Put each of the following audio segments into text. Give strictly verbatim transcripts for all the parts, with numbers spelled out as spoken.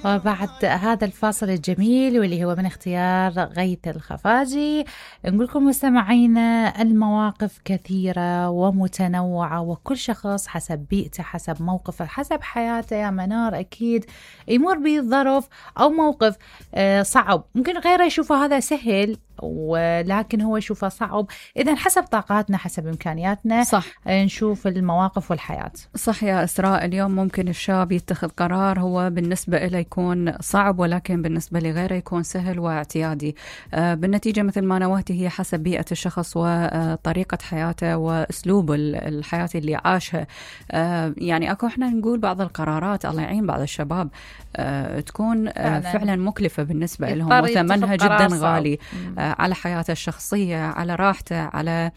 وبعد هذا الفاصل الجميل واللي هو من اختيار غيث الخفاجي، نقول لكم مستمعينا المواقف كثيرة ومتنوعة، وكل شخص حسب بيئته، حسب موقفه، حسب حياته. يا منار أكيد يمر بظرف أو موقف صعب، ممكن غيره يشوفه هذا سهل ولكن هو يشوفه صعب. إذن حسب طاقاتنا، حسب إمكانياتنا، صح نشوف المواقف والحياة. صح يا إسراء. اليوم ممكن الشاب يتخذ قرار هو بالنسبة إليه يكون صعب، ولكن بالنسبة لغيره يكون سهل واعتيادي. آه بالنتيجة مثل ما نوهتي هي حسب بيئة الشخص وطريقة حياته وأسلوب الحياة اللي عاشها. آه يعني أكو إحنا نقول بعض القرارات الله يعين بعض الشباب آه تكون آه فعلا. فعلا مكلفة بالنسبة لهم وثمنها جدا غالي آه على حياته الشخصية، على راحته، على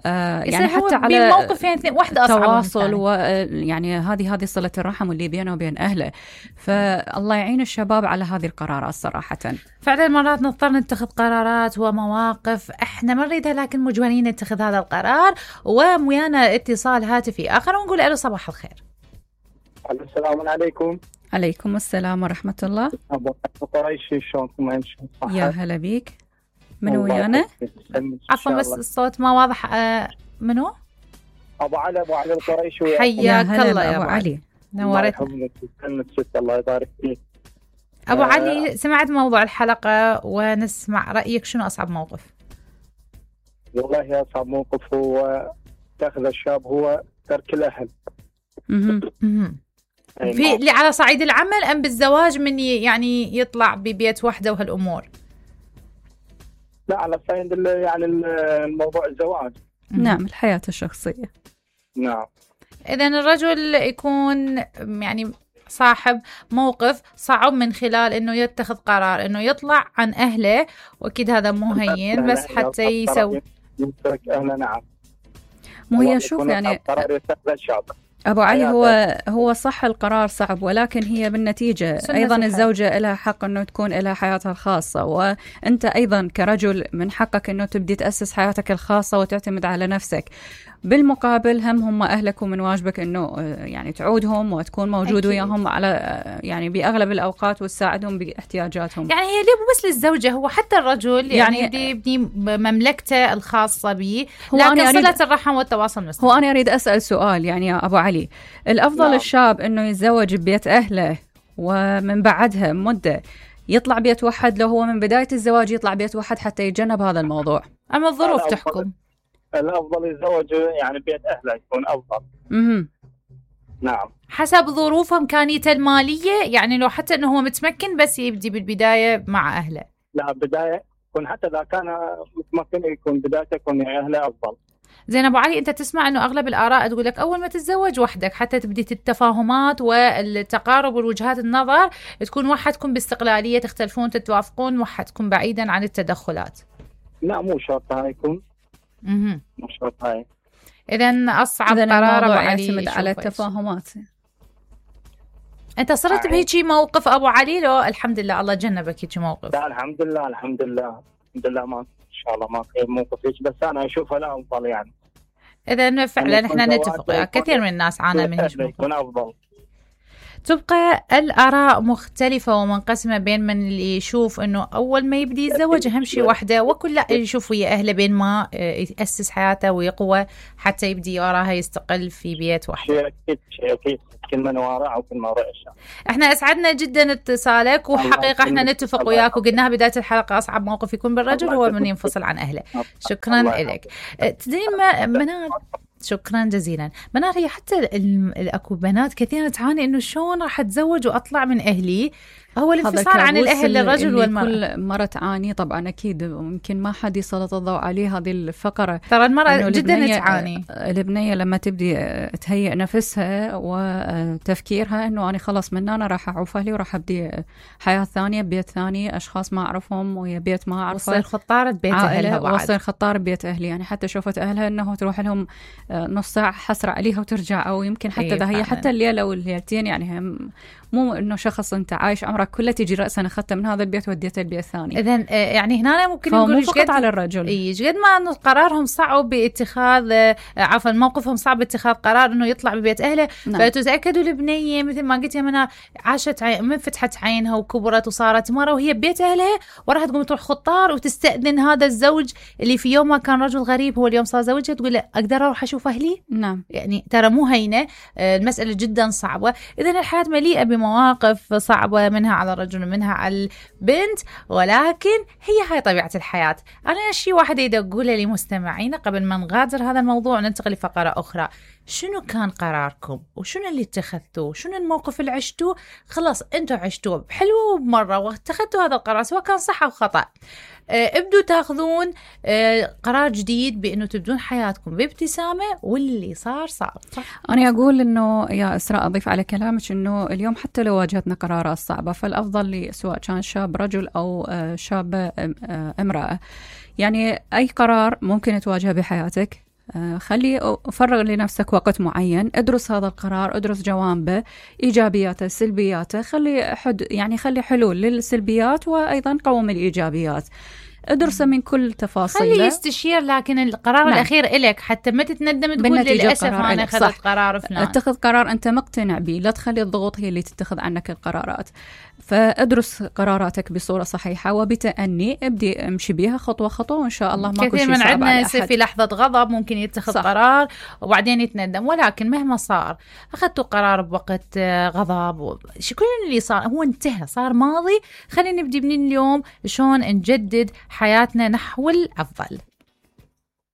آه يعني حتى على موقف يعني واحدة تواصل، ويعني هذه هذه صلة الرحم اللي بينه وبين أهله. فالله يعين الشباب على هذه القرارات صراحة. فعلا مرات نضطر نتخذ قرارات ومواقف احنا ما نريدها، لكن مجبرين نتخذ هذا القرار. وميانا اتصال هاتفي آخر ونقول له صباح الخير. السلام عليكم. عليكم السلام ورحمة الله. أبو قريشي شلونكم؟ يا هلا بيك. منو ويانا؟ عفوا بس الصوت ما واضح. آه منو؟ أبو علي. أبو علي القريشي. حياك الله يا أبو علي. نورت. الله يبارك فيك. أبو آه علي، سمعت موضوع الحلقة ونسمع رأيك. شنو أصعب موقف؟ والله أصعب موقف هو تأخذ الشاب هو ترك الأهل. في اللي على صعيد العمل أم بالزواج من يعني يطلع ببيت وحده وهالأمور؟ لا، على صعيد يعني الموضوع الزواج. نعم، الحياة الشخصية. نعم. إذن الرجل يكون يعني صاحب موقف صعب من خلال إنه يتخذ قرار إنه يطلع عن أهله، وأكيد هذا مو هين، بس حتى يسوي يترك أهله. نعم. مو هي شوف يعني أبو علي، هو هو صح القرار صعب، ولكن هي بالنتيجة أيضا الزوجة لها حق أنه تكون لها حياتها الخاصة، وأنت أيضا كرجل من حقك أنه تبدي تأسس حياتك الخاصة وتعتمد على نفسك. بالمقابل هم هم أهلك، ومن واجبك أنه يعني تعودهم وتكون موجود وياهم على يعني بأغلب الأوقات وتساعدهم باحتياجاتهم. يعني هي ليه بس للزوجة، هو حتى الرجل يعني, يعني يبني مملكته الخاصة به، لكن صلة الرحم والتواصل مستمر. هو أنا أريد أسأل سؤال يعني يا أبو علي، الأفضل لا. الشاب أنه يتزوج ببيت أهله ومن بعدها مدة يطلع بيت واحد، لو هو من بداية الزواج يطلع بيت واحد حتى يتجنب هذا الموضوع؟ أما الظروف تحكم. الأفضل يتزوج يعني بيت أهله يكون أفضل. امم نعم، حسب ظروفه إمكانيته المالية، يعني لو حتى إنه هو متمكن بس يبدي بالبداية مع أهله. لا، بداية يكون حتى إذا كان متمكن يكون بدايته يكون مع أهله أفضل. زين أبو علي، أنت تسمع إنه أغلب الآراء تقول لك أول ما تتزوج وحدك حتى تبدي التفاهمات والتقارب والوجهات النظر تكون وحدكم باستقلالية، تختلفون تتوافقون وحدكم بعيدا عن التدخلات. لا، مو شرط هاي يكون. اها مو شرط هاي. إذن أصعب قرار أبو علي يعتمد على التفاهمات. أنت صرت بهيجي موقف أبو علي؟ لو الحمد لله الله جنبك هيجي موقف. لا، الحمد لله الحمد لله الحمد لله ما إن شاء الله ما في موقف هيك، بس أنا أشوفها لا أفضل يعني. إذن فعلا إحنا نتفق، كثير من الناس عانى من هيك موقف. يكون أفضل. تبقى الآراء مختلفة ومنقسمة بين من اللي يشوف إنه أول ما يبدي يتزوج أهم شيء وحده، وكل لا يشوف ويا أهله بين ما يأسس حياته ويقوى حتى يبدي وراها يستقل في بيت وحده. شيء أكيد شيء أكيد، كل من وراء وكل ما رأى الشام. إحنا أسعدنا جدا اتصالك، وحقيقة إحنا نتفق وياك، وقلناها بداية الحلقة أصعب موقف يكون بالرجل هو من ينفصل عن أهله. شكرا لك. تدري ما منار، شكرا جزيلا. منار، هي حتى اكو بنات كثيرة تعاني انه شلون راح اتزوج واطلع من اهلي، هو الانفصال عن الاهل للرجل والمرأة. كل مرة تعاني طبعا اكيد، ممكن ما حد يسلط الضوء عليه هذه الفقرة. ترى المرأة جدا تعاني. البنية لما تبدي تهيئ نفسها وتفكيرها انه انا خلص من انا راح اعوف اهلي وراح ابدي حياة ثانية ببيت ثاني، اشخاص ما اعرفهم ويا بيت ما اعرفه، وصير خطارة بيت اهلها بعد، وصير خطار ببيت اهلي. يعني حتى شوفت اهلها انه تروح لهم نص ساعة حسرة عليها وترجع، او يمكن حتى اذا هي حتى الليلة والليلتين، يعني هم مو انه شخص انت عايش عمرك قرارك كله تيجي رأسا أخذته من هذا البيت وديته البيت الثاني. إذن يعني هنا ممكن نقول مو فقط على الرجل، ايش قد ما انه قرارهم صعب باتخاذ عفوا موقفهم صعب باتخاذ قرار انه يطلع ببيت اهله. نعم. فتتاكدوا البنيه مثل ما قلت يا منى عاشت عين من فتحت عينها وكبرت وصارت مره وهي ببيت اهلها، وراح تقوم تروح خطار وتستاذن هذا الزوج اللي في يوم ما كان رجل غريب هو اليوم صار زوجها، تقول له اقدر اروح اشوف اهلي؟ نعم. يعني ترى مو هينه، المساله جدا صعبه. اذا الحياه مليئه بمواقف صعبه، منها على الرجل ومنها على البنت، ولكن هي هاي طبيعه الحياه. انا شيء واحد اريد اقوله لمستمعينا قبل ما نغادر هذا الموضوع وننتقل لفقره اخرى. شنو كان قراركم وشنو اللي اتخذتوه؟ شنو الموقف اللي عشتوه؟ خلاص انتوا عشتوه بحلوه وبمره واتخذتوا هذا القرار سواء كان صح او خطا. اه ابدوا تاخذون اه قرار جديد بانه تبدون حياتكم بابتسامه، واللي صار صار. انا اقول انه يا اسراء اضيف على كلامك انه اليوم حتى لو واجهتنا قرارات صعبه فالافضل لي سواء كان شاب رجل او شاب امراه، يعني اي قرار ممكن تواجهه بحياتك خلي فرغ لنفسك وقت معين، ادرس هذا القرار، ادرس جوانبه ايجابياته سلبياته، خلي حد يعني خلي حلول للسلبيات وايضا قوم الايجابيات، ادرسه من كل تفاصيله، خلي يستشير. لكن القرار نعم. الأخير إلك حتى ما تتندم تقول للأسف أنا أخذت قرار فلان. اتخذ قرار أنت مقتنع به، لا تخلي الضغوط هي اللي تتخذ عنك القرارات. فادرس قراراتك بصورة صحيحة وبتأني، ابدي امشي بيها خطوة خطوة وإن شاء الله ما كل شيء صعب على أحد. كثير من عندنا في لحظة غضب ممكن يتخذ صح. قرار وبعدين يتندم، ولكن مهما صار أخذتوا قرار بوقت غضب شو كل اللي صار هو انتهى، صار ماضي. خلينا نبدي من اليوم شلون نجدد حياتنا نحو الأفضل.